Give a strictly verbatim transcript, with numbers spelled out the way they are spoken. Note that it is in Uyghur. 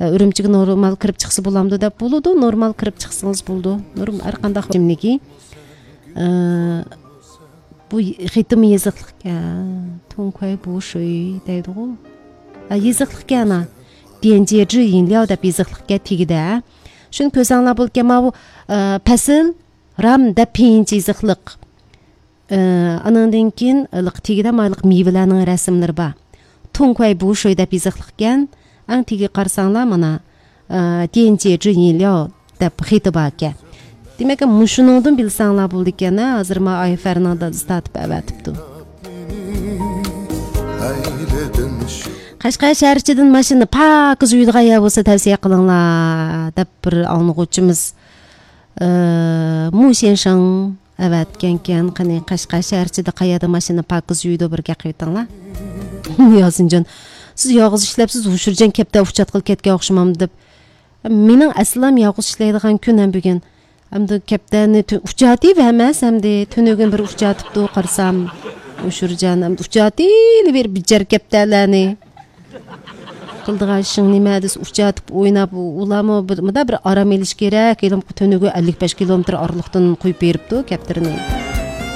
ئە، ئۈرۈمچىگە نورمال كىرىپ چىقسا بولامدۇ دەپ بولىدۇ، نورمال كىرىپ چىقسىڭىز بولىدۇ. نورم-، ھەر قانداق كىملىكى. ئە، بۇ خېتىمۇ يېزىقلىق. ئە، تۇڭ كۇەي بۇ شۇي دەيدىغۇ. ئە، يېزىقلىقكەن، ھا. ديەنجيې جى يىنلياۋ دەپ يېزىقلىقكەن تېگىدە. شۇنى كۆرسەڭلار بولىدىكەن، ماۋۇ، ئە، پەسىل، رام دەپ پىيىنچە يېزىقلىق. ئە، ئانىڭدىن كېيىن، ئىلىق تېگىدە مايلىق مېۋىلەرنىڭ رەسىملىرى بار. تۇڭ كۇەي بۇ شۇي دەپ يېزىقلىقكەن. ئەڭ تېگىگە قارىساڭلار، مانا، ئە، ديەنجيې جى يىنلياۋ دەپ خېتى باركەن. دېمەك، مۇشۇنىڭدىن بىلسەڭلار بولىدىكەن، ھە، ھازىر ما ئايفەرنىڭ دادىسى تارتىپ ئەۋەتىپتۇ. قەشقەر شەھەر ئىچىدىن ماشىنىنى پاكىز يۇيىدىغان يەر بولسا تەۋسىيە قىلىڭلار، دەپ بىر ئاڭلىغۇچىمىز، ئە، مۇ شيەنشىڭ ئەۋەتكەنكەن. قېنى، قەشقەر شەھەر ئىچىدە قەيەردە ماشىنا پاكىز يۇيىدۇ، بىر گەپ قىلىۋېتىڭلار. ياسىنجان، سىز يالغۇز ئىشلەپسىز، ھۇشۇرجان كەپتەر ئۇچاتقىلى كەتكەن ئوخشىمامدۇ دەپ. مېنىڭ ئەسلىم يالغۇز ئىشلەيدىغان كۈن ھەم بۈگۈن. ئەمدى كەپتەرنى تۈ-، ئۇچاتىۋەرمەس ئەمدى. تۈنۈگۈن بىر ئۇچاتىپتۇ، قارىسام. ھۇشۇرجان، ئەمدى ئۇچاتىۋېرىپ بىچارە كەپتەرلەرنى. قىلىدىغان ئىشىڭ نېمە دېسە، ئۇچاتىپ ئويناپ، ئۇلارمۇ بىر، مۇنداق بىر ئارام ئېلىش كېرەك. ھېلىمۇ تۈنۈگۈن ئەللىك بەش كىلومېتىر ئارىلىقتىن قويۇپ بېرىپتۇ كەپتىرىنى.